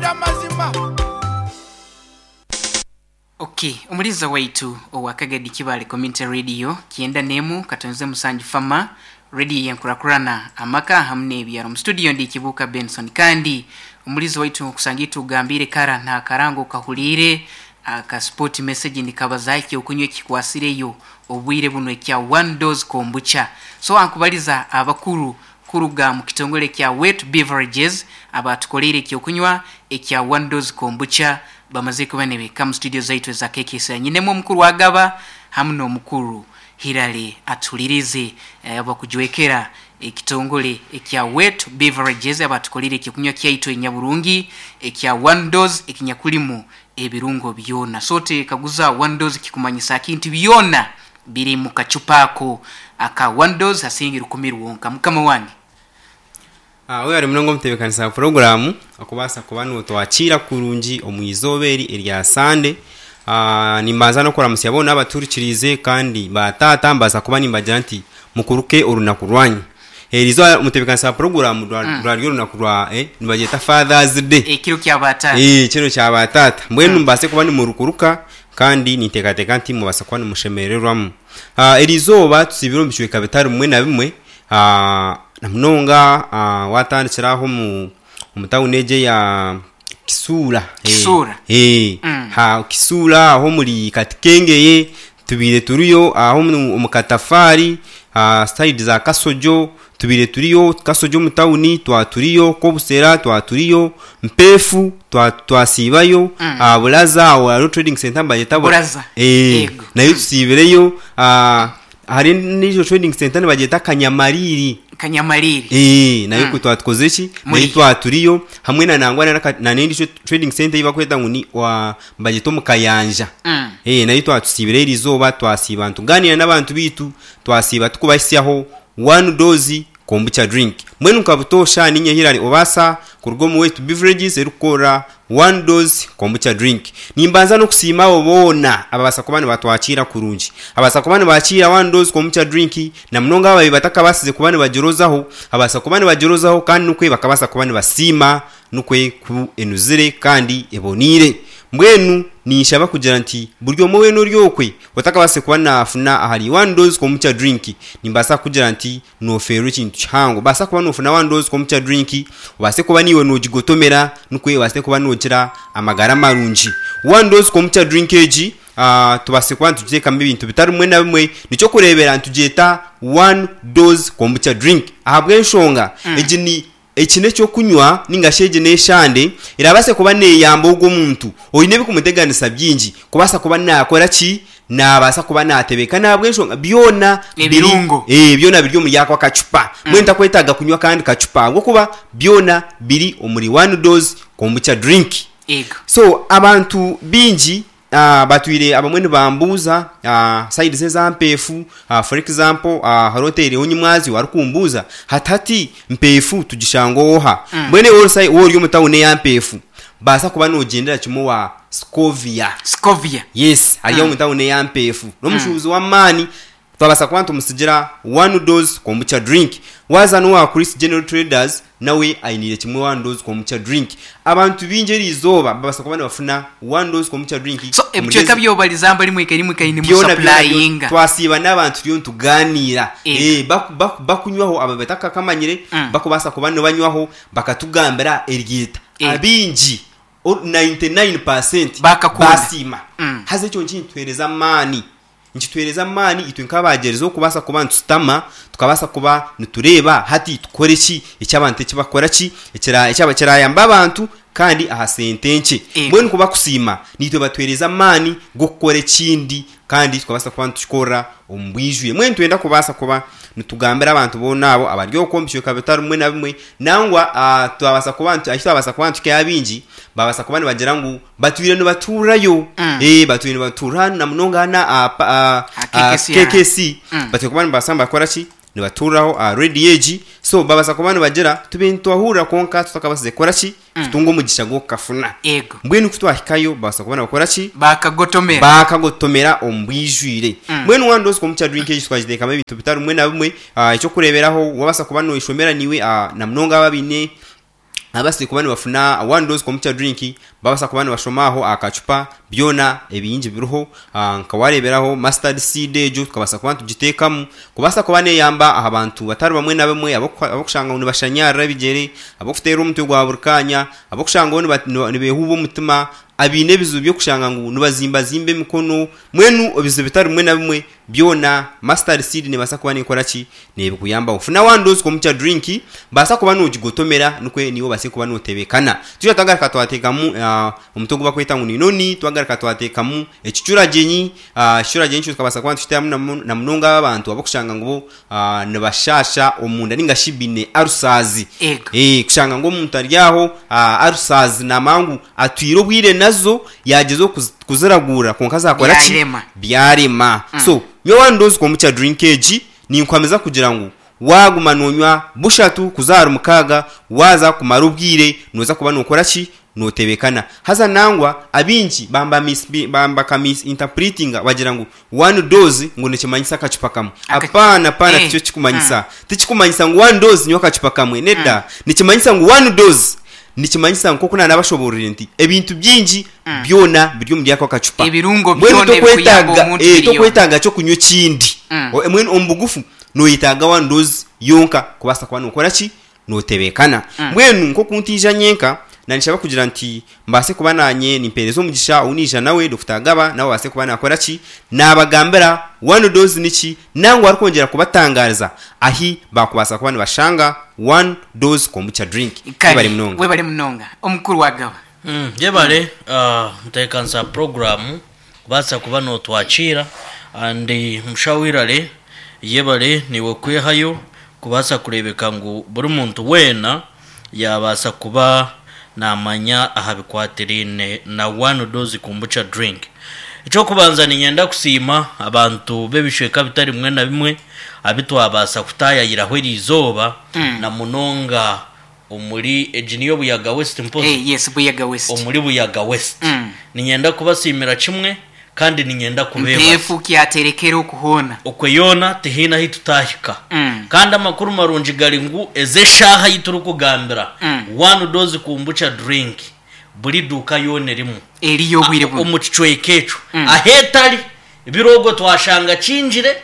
Nkubwire amazima. Ok, omuliza waitu owa Kagadi Kibaale Community Radio kyenda n'emu katonze musanju Fama Radio yenkurakurana amaka hamu n'ebyaro. Mu studio ndi Kibuuka Benson kandi omulizi waitu nkusanga itugambiire kara nakarango okahuliire aka sport message nikabazaho ekyokunywa ekikwasireyo obwire bunu ekya one dose kombucha. So ankubaliza abakuru kuruga mu kitongole kya Wet Beverages abatukoleire ekyokunywa ekya one dose kombucha bamaze kuba nibahika mu studio zaitu eza KKC. Nyinemu omukuru Agaba hamu n'omukuru Hillary Atuhulirize abakujwekera ekitongole ekya Wet Beverages abatukoleire ekyokunywa kyaitu enyaburungi ekya one dose ekinyakulimu ebirungo byona. So otekaguza one dose kikumanyisa ki nti byona biri mu kacupa ako aka one dose hasingi rukumi rwonka. Mukama wange. Webare munonga omutebeekanisa wa puroguraamu okubaasa kuba nootwakiira kurungi omu izooba eri erya Sande. Nimbanza n'okuramutsya boona abatuhurikiriize kandi baataata mbaasa kuba nimbagira nti mukuruke orunaku rwanyu. Eri izooba omutebeekanisa wa puroguraamu rwari orunaku rwa nibagyeta Father's Day. Ekiro kya baataata. Ekiro kya baataata. Mbwenu mubaase kuba nimurukuruka kandi ninteekateeka nti mubaasa kuba nimushemererwamu. Eri izooba tusiibire omu bicweka bitari bimwe na bimwe. Na munonga waatandikira aha omu tawuni egi eya Kisuura. Kisuura. Kisuura aho omuri Katikengeye tubaire turiyo, aho omu Katafaari, sayidi za Kasojo tubaire turiyo, Kasojo omu tawuni twaturiyo, Kobusera twaturiyo, Mpeefu twasiibayo, Buraza aho hariho trading centre nibagyeta Buraza. Nayo tusiibireyo. Hariho endiijo trading centre nibagyeta Kanyamariiri. Kanyamariiri. Eeh nayo ku twatukozire ki? Nayo twaturiyo hamwe na nangwa na n'endiijo trading centre ei barikweta ngu ni nibagyeta omu Kayanja. Eeh nayo twatusiibire eriizooba twasiiba nitugaaniira n'abantu baitu, twasiiba turikubahisyaho one dose kombucha drink. Mbwenu nka butoosha niinye Hillary Obaasa kuruga omu West Beverages erikukorera One Dose Kombucha Drink. Nimbanza n'okusiima abo boona ababaasa kuba nibatwakiira kurungi. Ababaasa kuba nibakiira One Dose Kombucha Drink na munonga ababaire batakabaasize kuba nibagirozaho, ababaasa kuba nibagirozaho kandi nikwo bakabaasa kuba nibasiima nikwo ku enuzire kandi eboneire. Mbwenu ninshaba kugira nti buri omwe weena ori okwe otakabaasize kuba naafuna ahari One Dose Kombucha Drink, nimbaasa kukugira nti Noofeerwa ekintu kihango. Obaasa kuba noofuna one dose kombucha drink, obaase kuba naiwe noogigotomera nikwo obaase kuba noogira amagara marungi. One dose kombucha drink egi tubaase kuba nitugiteekamu ebintu bitari bimwe na bimwe. Nikyokureebera nitugyeta one dose kombucha drink ahabw'enshonga egi ni eki n'eky'okunywa nainga shi egi n'eshande erabaase kuba neeyamba ogwo omuntu oine ebikumuteganisa bingi kubaasa kuba naakora ki? Naabaasa kuba naatebeekana ahabw'enshonga byona biri Ebirungo. ee, byona biri omuri ako akacupa. Mbwenu takwetaaga kunywa akandi kacupa ahabw'okuba byona biri omuri one dose kombucha drink. Ego. So abantu baingi batwire abamwe nibambuuza sides eza Mpeefu, for example hariho oteireho Nyimwazyo arikumbuuza hati hati Mpeefu tugishanga oha? Mbwenu iwe waaba ori omu tawuni eya Mpeefu, baasa kuba noogyendera kimwe owa Scovia. Scovia. Yes, ari omu tawuni eya Mpeefu. N'omushuubuzi w'amaani. Twabaasa kuba nitumutsigira one dose kombucha drink. Waaza n'owa Chris General Traders nawe ainiire kimwe one dose kombucha drink. Abantu baingi eriizooba babaasa kuba nibafuna one dose kombucha drink So omuri ebicweka ezi. byobariza mbari mwikaire mwikaire Byona byona byona nimusapurayinga. twasiiba n'abantu turiyo nitugaaniira. Ego. Eh, baku baku bakunywaho abo abatakakamanyire bakubaasa kuba nibanywaho bakatugambira eryeta. Ego. Abaingi 99% Bakakunda. baasiima. Haza ekyo nikituheereza amaani. Nikituheereza amaani itwe nk'abagyerizeho kubaasa kuba nitushutama, tukabaasa kuba nitureeba hati tukore ki eki abantu eki bakukora ki, ekirayambe abantu kandi aha sente nkye. Ego. Mbwenu ku bakusiima, naitwe batuheereza amaani g'okukora ekindi kandi tukabaasa kuba nitukikorera omu bwijwire. Mbwenu nitwenda kubaasa kuba nitugambira abantu boona abo abari okwo omu bicweka bitari bimwe na bimwe, nangwa twabaasa kuba ahu twabaasa kuba nituhikayo abaingi, baabaasa kuba nibagira ngu batwire nibatuurayo. Batwire nibatuura na munonga hanu aha Aha KKC. KKC, batwire kuba nibabaasa nibakora ki? Nibatuuraho aha rediyo egi. So babaasa kuba nibagira tube nitwahurira kwonka tutakabaasize kukora ki? Kutunga omugisha gw'okukafuna. Eego. Mbwenu ku twahikayo babaasa kuba nibakora ki? Baakagotomera. Baakagotomera omu bwijwire. Mbwenu waaba nooza omu kyadrinki egi twagiteekamu ebintu bitari bimwe na bimwe. Eky'okureeberaho waabaasa kuba nooyeshomera naiwe na munonga abo abaine. Ababaasize kuba nibafuna one dose kombucha drink babaasa kuba nibashoma aho aha kacupa byona ebingi biriho nka wareeberaho mustard seed egyo tukabaasa kuba nitugiteekamu kubaasa kuba neeyamba aha bantu batari bamwe na bamwe abarikushanga ngu nibashanyarara ebigyere, abarikuteerwa omutwe gwa buri kaanya, abarikushanga ngu nibeehuuba omutima, abaine ebizibu by'okushanga ngu nibazimbazimba emikono, mbwenu ebizibu bitari bimwe na bimwe Byona mustard seed nebaasa kuba nekora ki? Nebikuyambaho. Funa one dose kombucha drink, baasa kuba nogigotomera nikwo niiwe obaase kuba notebekana. Twija twagaruka twatekamu omuti ogu bakweta ngu ni noni, twagaruka twatekamu ekicuragyenyi, ekicuragyenyi ekyo tukabaasa kuba nitukitamu na munonga abo abantu abarikushanga ngu bo nibashaasha omunda ninga shi baine ulcers. Kushanga ngu omuntu ari aho ulcers namanya ngu atwire obwire nazo Yaagyezaho kuziraguura kwonka zaakora ki? Byarema. Byarema. So, nyowe waaba nindooza kombucha drink egi, ninkuhamiza kugira ngu waaguma noonywa bushatu kuza ahari mukaaga, waaza kumara obwire nooza kuba nookora ki? Nootebeekana. Haza nangwa abaingi bamba baka misinterpretinga bagira ngu one dose ngu nikimanyisa akacupa kamwe. Apaana, apaana tikyo kirikumanyisa. Tikikumanyisa ngu one dose nywa akacupa kamwe, nedda. Nikimanyisa ngu one dose Nikimanyisa nk'oku naanabashoboororire nti ebintu bingi byona biri omuri ako kacupa. Ebirungo Mbwenu byona ebirikuyamba tokwetaaga omuntu eh, biriyo. tokwetaaga ky'okunywa ekindi. O- Mbwenu omu bugufu nooyetaaga one dose yonka kubaasa kuba nookora ki? Nootebeekana. Mbwenu nk'oku ntaija nyenka, naanishaba kugira nti mbaase kuba naanye nimpeereza omugisha ou naija nawe, Dokita Agaba, nawe abaase kuba naakora ki? Naabagambira one dose niki, Nangwa arikwongyera kubatangaariza ahi baakubaasa kuba nibashanga One Dose Kombucha Drink. Kare, Webare munonga. webare munonga omukuru wa Gaba. Yebare ntebeekanisa ya puroguraamu kubaasa kuba nootwakiira and mushaho Irare yebare naiwe kwehayo kubaasa kureebeka ngu buri muntu weena yaabaasa kuba naamanya aha bikwatiraine na One Dose Kombucha Drink. Eky'okubanza niinyenda kusiima abantu b'ebicweka bitari bimwe na bimwe abu twabaasa kutaayayiraho eri izooba na munonga omuri egi niyo Buyaga West mpozi? Eh, yes, Buyaga West. Omuri Buyaga West. Niinyenda kubasiimira kimwe kandi niinyenda kubeebaza. Mpeefu kyaterekera oku hoona. Okwe yoona tihaine ahu tutaahika. Kandi amakuru marungi gari ngu ezi eshaaha ei turikugambira, One Dose Kombucha Drink buri duuka yoona erimu Eriyo obwire bunu. omu kicweka ekyo. Ahu etari, biri ogwo twashanga kingire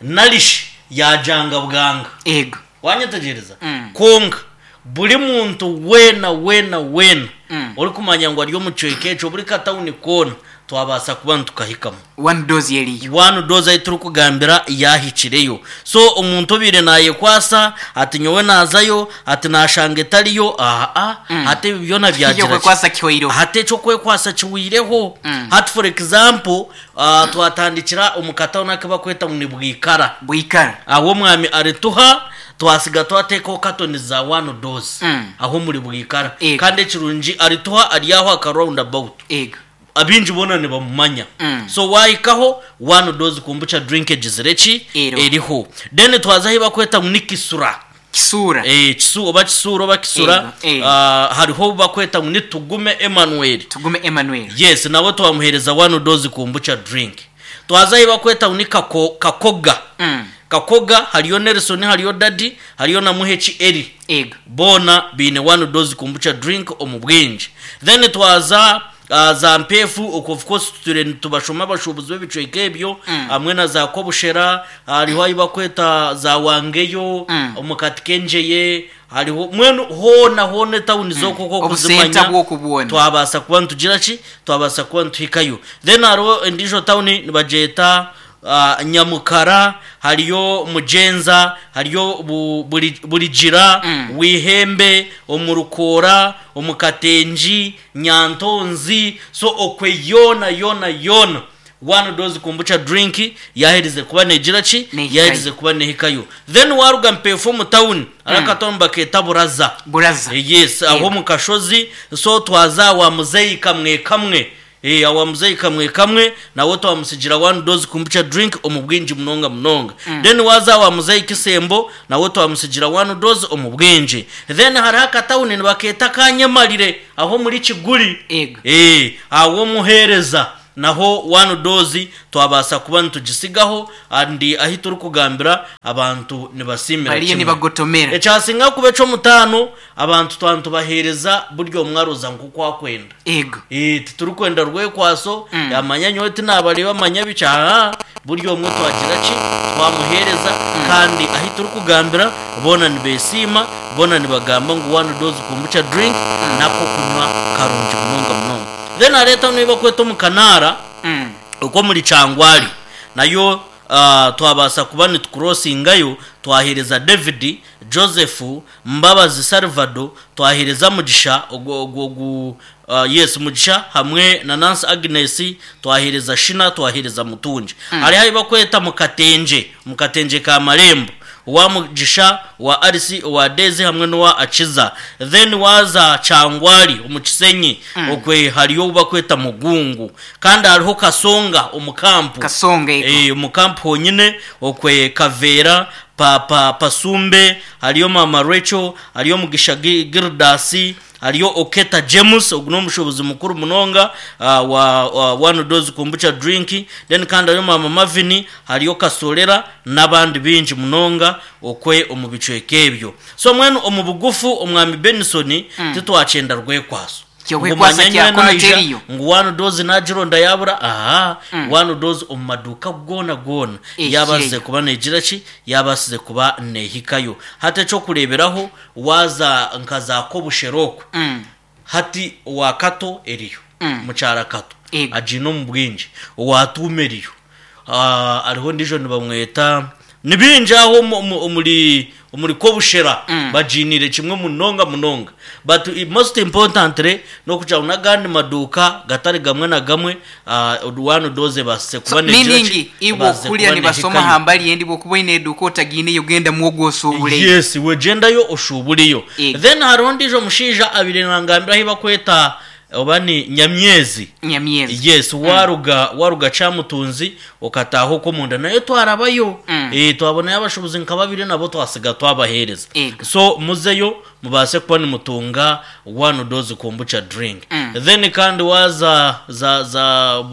nari shi yaagyanga bwanga. Ego. Wanyetegyereza? Kwonka buri muntu weena weena weena orikumanya ngu ari omu kicweka ekyo, buri katawuni koona, twabaasa kuba nitukahikamu. One dose eriyo. One dose ahu turikugambira yaahikireyo. So omuntu obaire naayekwasa ati nyowe naazayo, ati naashanga etariyo, aa, hati ebi byona byagira ki? Eky'okwekwasa kihweireho. Hati eky'okwekwasa kihweireho. Hati for example, twatandikira omu katawuni aku barikweta ngu ni Bwikara. Bwikara. Ahu omwami arituha, twasiga twateekaho katoni za one dose ahu omuri Bwikara. Ego. Kandi ekirungi arituha ari aho aha ka round about. Ego. Abaingi boona nibamumanya. So waahikaho, one dose kombucha drink egizire ki? Eriho. Eriho. Then twaza ahu bakweta ngu ni Kisura. Kisuura. Eh, Kisu, oba Kisuura oba Kisura. Ego, ego. Hariho ou bakweta ngu ni Tugume Emmanuel. Tugume Emmanuel. Yes, nawe twamuheereza one dose kombucha drink. Twaza ahu bakweta ngu ni Kako, Kakoga. Kakoga hariyo Nelson, hariyo Daddy, hariyo na Muheki Elly. Ego. Boona baine one dose kombucha drink omu bwingi. Then twaza za Mpeefu, okwo of course tutwire nitubashoma abashuubuzi b'ebicweka ebyo, hamwe na za Kobushera, hariho ahu bakweta za Wangeyo, omu Katikengyeye, hariho mbwenu hoona hoona etawuni z'okwo oku Obusenta okuzimanya, bw'okwo bwona. twabaasa kuba nitugira ki? Twabaasa kuba nituhikayo. Then hariho endiijo tawuni nibagyeta Nyamukara, hariyo Mugyenza, hariyo Burigira, Bwihembe, omu Rukoora, omu Katengi, Nyantonzi, so okwe yoona yoona yoona one dose kombucha drink yaherize kuba negira ki? Nehikayo. Yaherize kuba nehikayo. Then waruga Mpeefu omu tawuni, hariho akatawuni nibakeeta Buraza. Buraza. Yes, aho Yego. omu kashozi, so twaza awa muzeeyi Kamwe Kamwe. Eeh awa muzeyi kamwe kamwe nawe twamusigira one dose kombucha drink omu bwingi munonga munonga. Then waza awa muzeyi kisembo nawe twamusigira one dose omu bwingi. Then hariho akatawuni nibakeeta aka Nyemarire aho omuri Kiguli. Ego. Eeh aho omuhereza. Naho one dose twabaasa kuba nitugisigaho and ahi turikugambira abantu nibasiimira Bariyo kimwe. nibagotomera. Ekyasinga kuba eky'omutaano abantu twaba nitubaheereza buri omwe aroza nk'oku akwenda. Ego. Eh, titurikwenda rwekwaso yamanya nyowe tinabareeba manya biki aha buri omwe twagira ki twamuheereza kandi ahi turikugambira boona nibesiima boona nibagamba ngu one dose kombucha drink n'akokunywa karungi munonga munonga. Then hareeta n'ei barikweta omu kanaara ok'omuri Kyangwali nayo twabaasa kuba nitukurosingayo twaheereza David, Joseph, Mbabazi Salvado, twaheereza Mugisha ogu ogu ogu yes Mugisha hamwe na Nancy Agnes, twaheereza Shina, twaheereza Mutungi. Hariho ahi barikweta Mukatengye, Mukatengye ka Marembo. Owa Mugisha, owa Alice, owa Daisy hamwe n'owa Akiza. Then waaza Kyangwali omu Kisenyi okwe hariyo ou bakweta Mugungu. Kandi hariho Kasonga omu kampu. Kasonga ego. Eh, omu kampu honyine okwe Kaveera, Pa pa Pasumbe, hariyo Maama Rachel, hariyo Mugisha Gi Gildas, Hariyo Oketa James, ogu n'omushuubuzi mukuru munonga wa One Dose Kombucha Drink, then kandi hariyo Maama Marvin, hariyo Kasolera n'abandi baingi munonga okwe omu bicweka ebyo. So mbwenu omu bugufu Omwami Benson titwakyenda rwekwaso. Ngu Ky'okwekwasa manya kya nyowe kunu naija teriyo. ngu One Dose nagironda yabura, ahaa, One Dose omu maduuka goona goona yaabaasize Ehikireyo. kuba negira ki? Yaabaasize kuba neehikayo. Hati eky'okureeberaho Waaza nka za Kobushera okwo, hati owa Kato eriyo, mukyara Kato Ego. agiine omu bwingi, owa Tuuma eriyo, hariho ondiijo nibamweta, ni baingi aho omuri omuri Kobushera bagiiniire kimwe munonga munonga. But most importantly n'okugira ngu n'agandi maduuka gatari gamwe na gamwe one dose ebaasise So, kuba negira meaning ki? iwe Ebaasize okuhurira kuba nibasoma neehikayo. aha mbari endi bw'okuba oine eduuka otagiineyo gendamu ogwo oshuubureyo. Yes, iwe gyendayo oshuubureyo. Ego. Then hariho ondiijo mushaija abaire nangambira ahu bakweta oba ni Nyamyezi. Nyamyezi. Yes, waruga waruga Kyamutunzi okataaha okwo omunda nayo twarabayo. Eh, twabonayo abashuubuzi nka babiri nabo twasiga twabaheereza. Ego. So muzeyo mubaase kuba nimutunga one dose kombucha drink. Then kandi waaza za za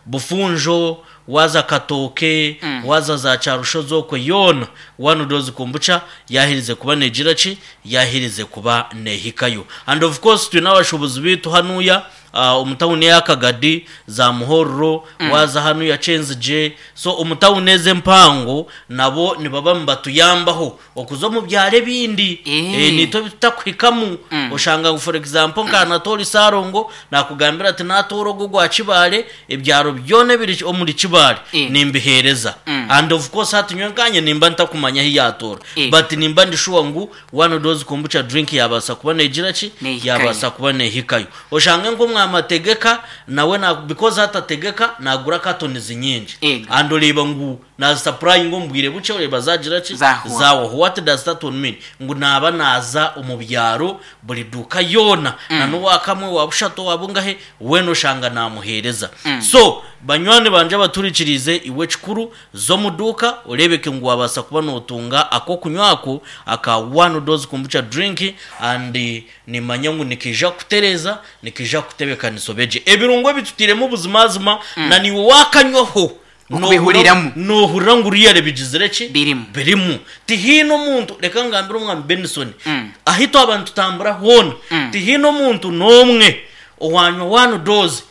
Bufunjo, waaza Katooke, waaza za Kyarushozi okwo yoona one dose kombucha yaaherize kuba neegira ki? Yaaherize kuba neehikayo. And of course twine abashuubuzi baitu hanuuya omu tawuni eya Kagadi, za Muhorro, waaza hanuuya Kyenzigye, so omu tawuni ezi empango nabo nibaba nibatuyambaho Okuza omu byaro ebindi naitwe ebi tutakuhikamu, oshanga ngu for example nka Anatoli Ssalongo nakugambira ati natoora ogu ogwa Kibaale, ebyaro byona ebiri omuri Kibaale nimbiheereza. And of course hati nyowe nkanye nimba ntakumanya ahi yatoora but nimba ndi sure ngu one dose kombucha drink yabaasa kuba negira ki? Nehikayo. Yabaasa kuba nehikayo. Oshange nk'omwami Ategeka nawe because hati Ategeka nagura cartons nyingi and oreeba ngu Naazisapurayinga omu bwire bukye oreeba zaagira ki? Zaahwa. Zaahwaho. What does that one mean? Ngu naaba naaza omu byaro buri duuka yoona na n'owa kamwe, owa bushatu, owa bungahe, weena oshanga naamuheereza. So, banywani bangye abaturikiriize, iwe ekikuru za omu duuka oreebeke ngu waabaasa kuba nootunga ak'okunywa ako aka One Dose Kombucha Drink and niimanya ngu nikaija kukutereeza, nikaija kukutebeekanisa obe gye. Ebirungo ebi tutairemu buzimazima na naiwe waakanywaho Okubihuriramu. Noohurira ngu really bigizire ki? Birimu. Birimu. Tihaine omuntu, reka ngambire Omwami Benson, ahi twaba nitutambura hoona, tihaine omuntu n'omwe owaanywa one dose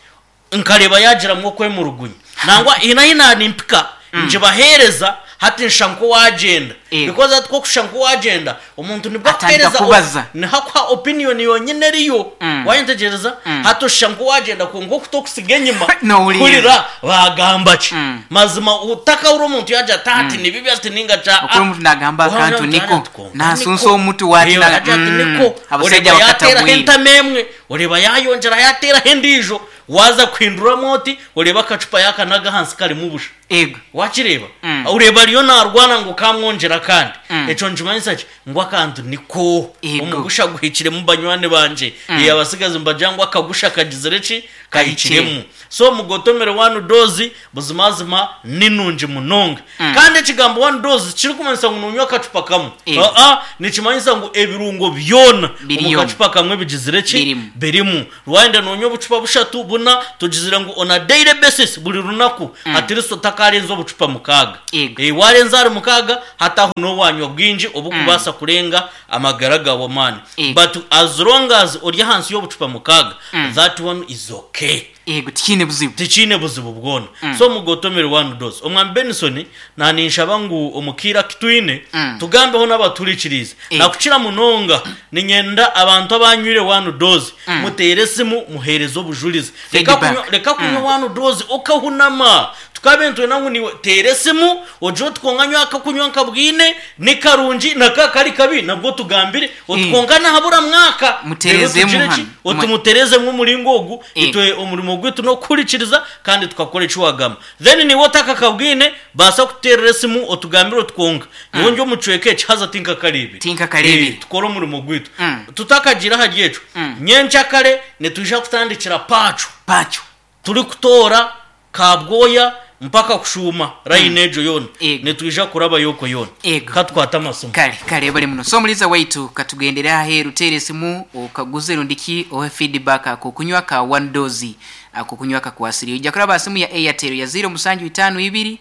nkareeba yaagiramu okwemurugunya. Nangwa haine ahi naanimpika ngibaheereza hati nshusha nk'owaagyenda. Eego. Because hati ku orikushusha nk'owaagyenda, omuntu nibwo Atandika akuheereza kubaza. niho akuha opinion yonyine eriyo. Waayetegyereza? Hati oshusha nk'owaagyenda kwonka okuta okusiga enyima Nohurira. kuhurira baagamba ki. Mazima otakahurira omuntu yaagira ati ati ni bibi ati ninga ki Okuri omuntu naagamba Wahurira akantu omuntu niko yaagira ati kwonka naasunsa niko. omutu waati Reeba yaagira ati niko. abashaija Oreeba yaateeraho bakatabwire. entama emwe, oreeba yaayongyera yaateeraho endiijo. Waaza kuhinduramu oti, oreeba akacupa yaakanaga ahansi karimu busha. Ego. Wakireeba? Mm. Oreeba ariyo naarwana ngu kamwongyere akandi. Mm. Ekyo nikimanyisa ki? Ngu akantu niko. Ego. Omugusha guhikiremu banywani bangye. Mm. Abasigazi nibagira ngu akagusha kagizire ki? Kahikire. Kahikiremu. So mugotomere one dose buzimazima ni nungi munonga. Mm. Kandi ekigambo one dose tikirikumanyisa ngu nonywa akacupa kamwe. Ego. Aa, nikimanyisa ngu ebirungo byona omu Biriyo. kacupa kamwe bigizire ki? Birimu. Birimu. Wayenda nonywa obucupa bushatu, buna, tugizire ngu on a daily basis buri runaku Mm. at least otakarenza obucupa mukaaga. Ego. Eh, warenza ahari mukaaga hati aho nowanywa bwingi obukubaasa kurenga amagara gawe amaani. Ego. But as long as ori ahansi y'obucupa mukaaga, Mm. that one is okay. Ego, tikiine buzibu. Tikiine buzibu bwona. Mm. So mugotomere one dose. Omwami Benson naninshaba ngu omu kaire aku twine Mm. tugambeho n'abaturikiriize. Ego. Nakukira munonga niinyenda abantu abanywire one dose Mm. muteere esimu muheereze obujurizi. Reka Feedback. kunywa, reka kunywa Mm. one dose okahunama. Tukabe nitwenda ngu niiwe teera esimu ogire oti kwonka nyowe akakunywa nkabwine ni karungi na ka kari kabi nabwo otugambire oti Mm. kwonka nahabura mwaka. Reero Muteerezemu tugire ki? hanu. Oti muteerezemu omuringo ogu Eh. itwe omurimo gwaitu n'okuhurikiriza kandi tukakora eki wagamba. Then niiwe otakakabwine baasa kututeerera esimu otugambire oti kwonka nyowe ndi omu kicweka eki haza tinkakareebire. Tinkakareebire. Eh, tukore omurimo gwaitu. Mm. Tutakagiire ahari ekyo, Mm. nyenkyakare nitwija kutandikira Pacho. Pacho. Turikutoora Kabwoya mpaka kushuuma layini egyo yoona. Ego. Nitwija kurabayo okwo yoona. Ego. Ka tukwate amasimu. Kare, kare ebare muno. So omuliza waitu katugendere aheru teera esimu okaguze rundi ki ohe feedback ako kunywa ka one dose ako kunywa kakwasire. Oija kuraba aha simu ya Airtel ya ziro musanju itaano ibiri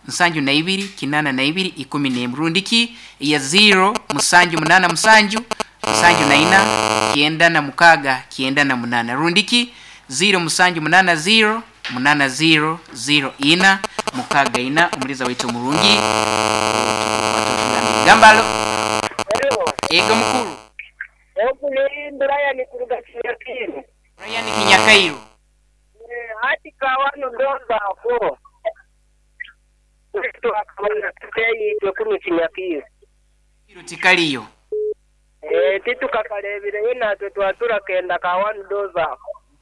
nsanju na ibiri kinaana na ibiri ikumi n'emwe rundi ki ya ziro musanju munaana musanju nsanju na ina kyenda na mukaaga kyenda na munaana rundi ki ziro musanju munaana ziro munaana ziro ziro ina mukaaga ina omuliza waitu omurungi otugambire. Gamba alo. Hello. Ego mukuru. Ogu ni Brian kuruga Kinyakairu. Brian Kinyakairu. Eh, hati kawano ndonda ako. Kristo akabona tuteyitwe kunu Kinyakairu. Kiro tikaliyo. Eh, titukakarebireyo natwe twatura kenda kawano doza.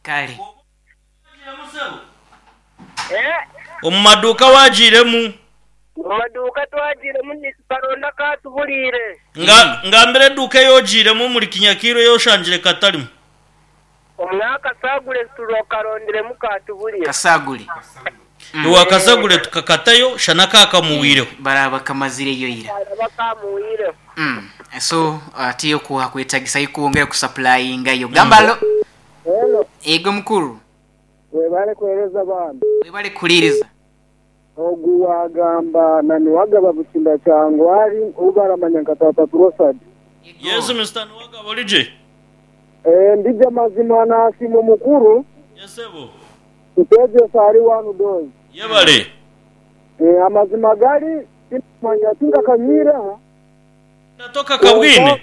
Kale. Eh, Omu maduuka wagiiremu. mu maduuka twagiremu nitukaronda katuburiire. Nga, ngambira eduuka ei ogiiremu omuri Kinyakairu ei oshangire katarimu. Omwaka sagure turokarondiremu katuburiire. Kasagure. Iwe akasagure tukakatayo shana kakamuwireho. Baraba kamazireyo ira. Bakamuwireho. So atiyo kuha kwetagisa ikuwongera kusupplyinga yo. Gamba alo. Hello. Ego mukuru. Webale kuhereza bambi. Webale kuhuririza. Ogu wagamba na niwagaba Bukinda Kyangwari ou baramanya nka Tata Turosadi. Yes Mister Niwagaba ori gye? Eh, ndije mazima nasiima omukuru. Yes sebo. Tutwegyesa ahari one dose. Yebare. Eh, amazima gari timanya tinkakanywireho. Natoka kabwine.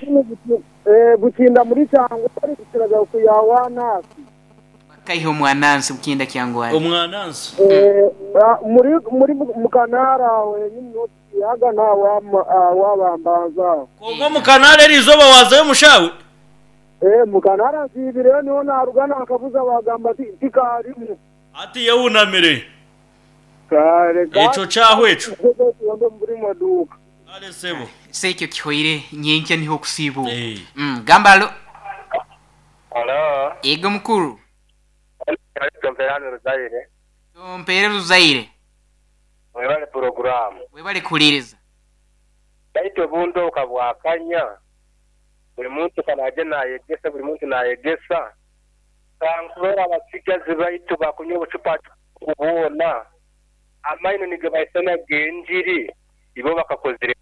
Eh, Bukinda muri Kyangwari bukiraga kuya wanasi. Kaiho mwanansi Bukinda Kyangwari. Omwanansi. Eh, muri muri mukanara wenyini notiyaga na wabambanza. Kongo omukanara eriizooba waazayo omushawe? Eh, mukanara nsiibireyo niho naruga nakabuza bagamba tikarimu. Hati yehunamire. Kare Ekyo kyahwa ekyo. Kare muri maduka. Kare sebo. Se ekyo kihoire nyenkya niho okusiiba. Eh. Gamba alo. Hello. Ego mukuru. Tomperano Ruzaire. Tompere Ruzaire. Webale programu. Webale kuhuririza. Baitu obundi okabwakanya. Buri muntu kanaje nayegesa, buri muntu nayegesa. Kankubera abasigazi baitu bakunywa obucupa kubona. Amaino nigabaisana genjiri. Ibo bakakozire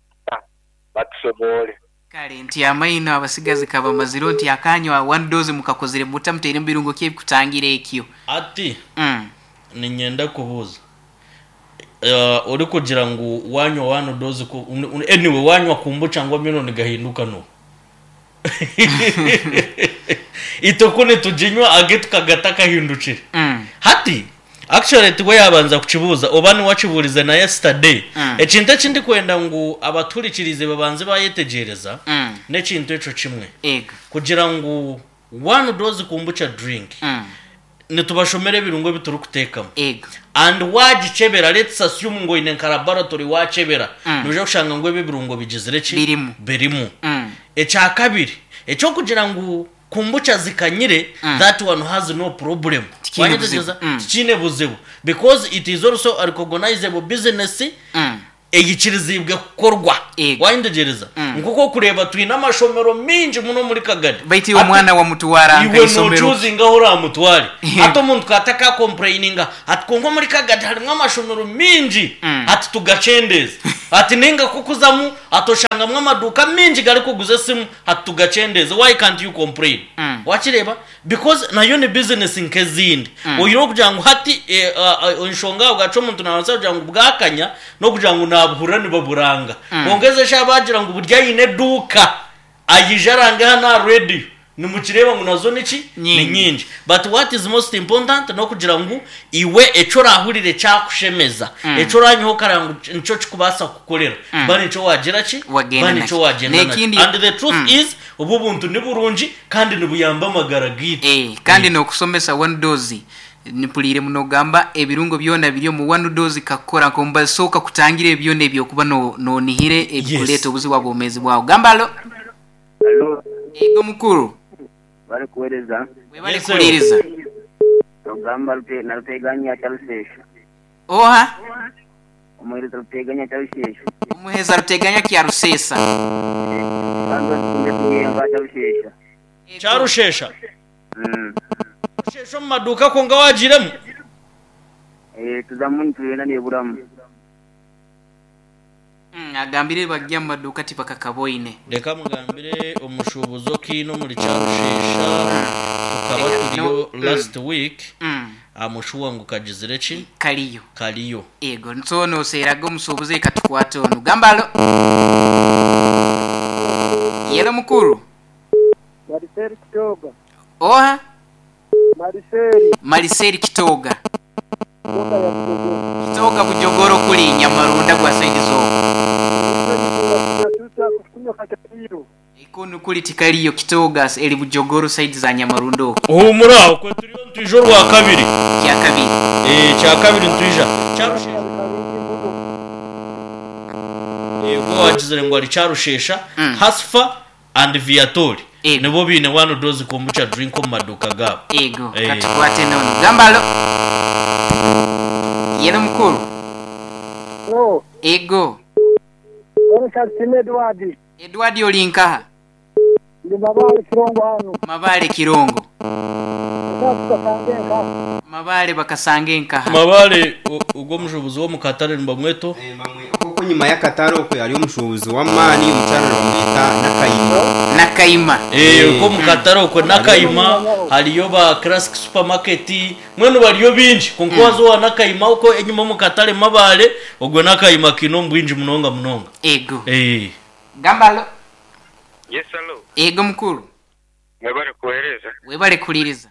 batusobole. Kare nti amaino abasigazi kabamaziro nti akanywa one dose mukakozire muta muteire mubirungo kye bikutangira ekyo. Ati ninyenda kubuuza. Orikugira ngu wanywa one dose ku, anyway wanywa kombucha ngu amaino nigahinduka no. Itwe ku nituginywa age tukagata akahindukire. Hati actually tiwe yabanza kukibuuza oba niwe akiburize na yesterday. Ekintu eki ndikwenda ngu abaturikirize babanze bayetegyereza n'ekintu ekyo kimwe. Ego. Kugira ngu one dose kombucha drink. Nitubashomera ebirungo ebi turikuteekamu. Ego. And waagikyebera, let's assume ngu oine nka laboratory waakyebera, noija kushanga ngu ebi ebirungo bigizire ki? Birimu. Birimu. Ekyakabiri, eky'okugira ngu kombucha zikanyire, that one has no problem. Tikiine buzibu. Waayetegyereza? Tikiine buzibu. Because it is also a recognizable business eyikiriziibwe kukorwa. Ego. Waayetegyereza? Nk'oku orikureeba twine amashomero maingi muno omuri Kagadi. Baitu iwe Hati omwana wamutwara iwe nka isomero. nochoosinga ahu oramutware. Hati omuntu ka atakakompureyininga ati kwonka omuri Kagadi harimu amashomero maingi ati tugakyendeeze. Ati nainga ku okuzamu ati oshangamu amaduuka maingi garikuguza esimu ati tugakyendeeze. Why can't you complain? Wakireeba? Because nayo ni business nk'ezindi. Oihireho okugira ngu hati enshonga ahabwaki omuntu nabaasa kugira ngu bwakanya n'okugira ngu nabuhurira nibaburanga. Kwonka ezi eshaaha baagira ngu buri aine eduuka aije arange hanu aha radio, nimukireeba ngu nazo niki? Ni Nyingi. nyingi. But what is most important n'okugira ngu iwe eki orahurire kyakushemeza, eki oranywaho okareba ngu nikyo kikubaasa kukukorera, ba nikyo waagira ki? Wagenda Ba nikyo nakyo. wagyenda nakyo. N'ekindi And the truth is obu obuntu ni burungi kandi nibuyamba amagara gaitu. Eh, kandi n'okusomesa one dose Mpuriire nogamba ebirungo byona biri omu one dose kakukora nk'omubazi so kakutangira ebyo byona eby'okuba nonihire ebikureeta obuzibu aha bwomeezi bwawe. Gamba alo. Alo. Yego mukuru. Webale kuwereza. Webale Yes, sir. kuhuriiriza. Ogamba na Ruteganya Kyarusheshe. Oha? Omuhereza Ruteganya Kyarusheshe. Omuhereza Ruteganya Kyaruseesa. Kandi otukunde kuyenga Kyarushesha. Kyarushesha. Kyarushesha omu maduuka kwonka wagiiremu? Tuzamu nitugenda neburamu. Agambire bari omu maduuka tibakakaboine. Reka mugambire omushuubuzi okiine omuri Kyarushesha tukaba turiyo last week amushuwa ngu kagizire ki? Kariyo. Kariyo. Ego so noseeraga omusuubuzi reka tukwate onu. Gamba alo. Yelo mukuru. Mariseli Kitoga. Oha? Mariseli. Mariseli Kitoga. Kitoga ya Bujogoro. Kitoga Bujogoro kuri Nyamarunda gwa saidi z'okwo. Ekunu kuri tikariyo Kitoga eri Bujogoro saidi za Nyamarunda okwo. Huumura okwo turiyo nitwija orwakabiri. Kyakabiri. Eeh kyakabiri nitwija. Kyarushesha. Eego owagizire ngu ari Kyarushesha, Hasfa and Viatori Ego. nibo baine one dose kombucha drink omu maduuka gaabo. Ego. Eh. Katukwate n'onu. Gamba alo. Yelo mukuru. Halo, Ego. Constantine Edward. Edward ori nkaha? Ndi Mabaale Kirongo hanu. Mabaale Kirongo. Eka tukasanga enkaha. Mabaale bakasanga enkaha. Mabaale ogwo omushuubuzi w'omu katare nibamweta oha? Okwo enyima y'akatare okwe hariyo omushuubuzi w'amaani omukyara nibamweta Nakayima. Nakayima. Okwo omu katare okwe Nakayima hariyo ba Classic Supermarket mbwenu bariyo baingi kwonka waaza owa Nakayima okwo enyima omu katare Mabaale ogwo Nakayima kaine omu bwingi munonga munonga. Ego. Gamba alo. Yes alo. Ego mukuru. Mwebale kuhereza. Webale kuhuririza.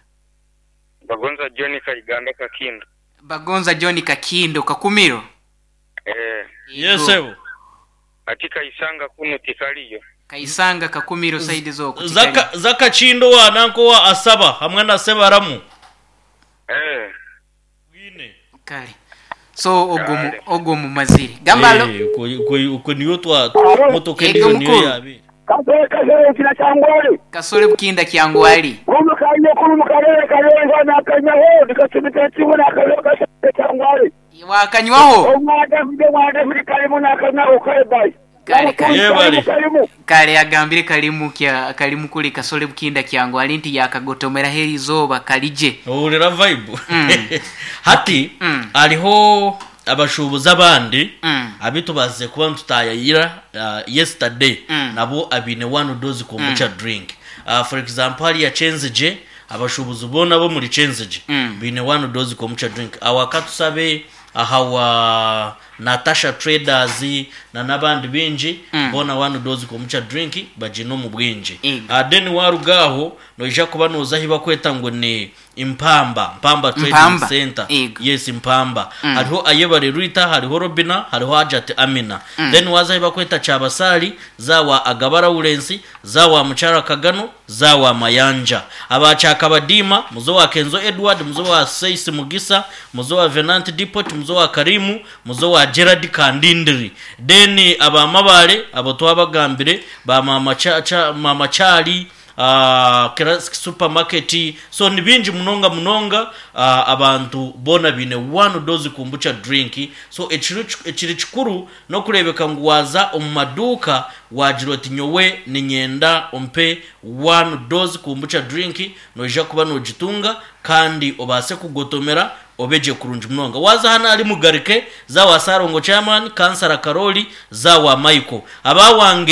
Bagonza John Kaiganda Kakindo. Bagonza John Kakindo Kakumiro. Eh. Yes sebo. Ati Kaisanga kunu tikariyo. Kaisanga Kakumiro side z'okwo tikariyo. Za Kakindo owa nanka owa Asaba hamwe na Sebaramu. Eh. Bwine. Kare. So ogwo ogwo mumazire. Gamba alo. Eh, okwo niyo twa motoka Ego endijo niyo mukuru. yabeire. Kasore kasore kina kyangwali. Kasore bukinda kyangwali. Kunu kanye kunu mukarere karenga nakanyaho nikasumita kimwe nakanyaho kasore kyangwali. Wakanywaho? Omwana afite mwana afite karimu nakanyaho kare bye. Kare kare. Yebare. Karimu. Kare agambire karimu kya karimu kuri Kasore bukinda kyangwali nti yakagotomeraho erizooba karigye. Ohurira vibe. Hati hariho abashuubuzi abandi abu tubaasize kuba nitutaayayira yesterday nabo abaine one dose kombucha drink. For example hariya Kyenzigye abashuubuzi boona ab'omuri Kyenzigye baine one dose kombucha drink. Aho akatusabe aha wa. Natasha Traders na n'abandi baingi boona One Dose Kombucha Drink bagiine omu bwingi. Ego. Then waaruga aho noija kuba nooza ahi bakweta ngu ni Mpamba, Mpamba Trading Mpamba, Centre. ego. Yes, Mpamba. Hariho Ayebare Rita, hariho Robina, hariho Hajat Amina. Then waaza ahi bakweta Kyabasaali, za wa Agaba Lawrence, za wa Mukyara Kagano, za wa Mayanja. Aba Kyakabadiima, muze owa Kenzo Edward, muze owa Seisi Mugisa, muze owa Venant Depot, muze owa Karimu, muze owa Gerard Kandindiri. Then aba Mabale, abo twabagambire, ba Maama Cha, Cha, Maama Chali, ah, Classic Supermarket. So ni bingi munonga munonga, ah, abantu boona baine One Dose Kombucha Drink. So ekiri, ekiri kikuru n'okureebeka ngu waaza omu maduuka waagira oti nyowe niinyenda ompe One Dose Kombucha Drink, noija kuba noogitunga kandi obaase kugotomera obe gye kurungi munonga. Waaza hanu ahari Mugarike, za wa Ssalongo Chairman, Kansara Karoli, za wa Michael. Aba wange.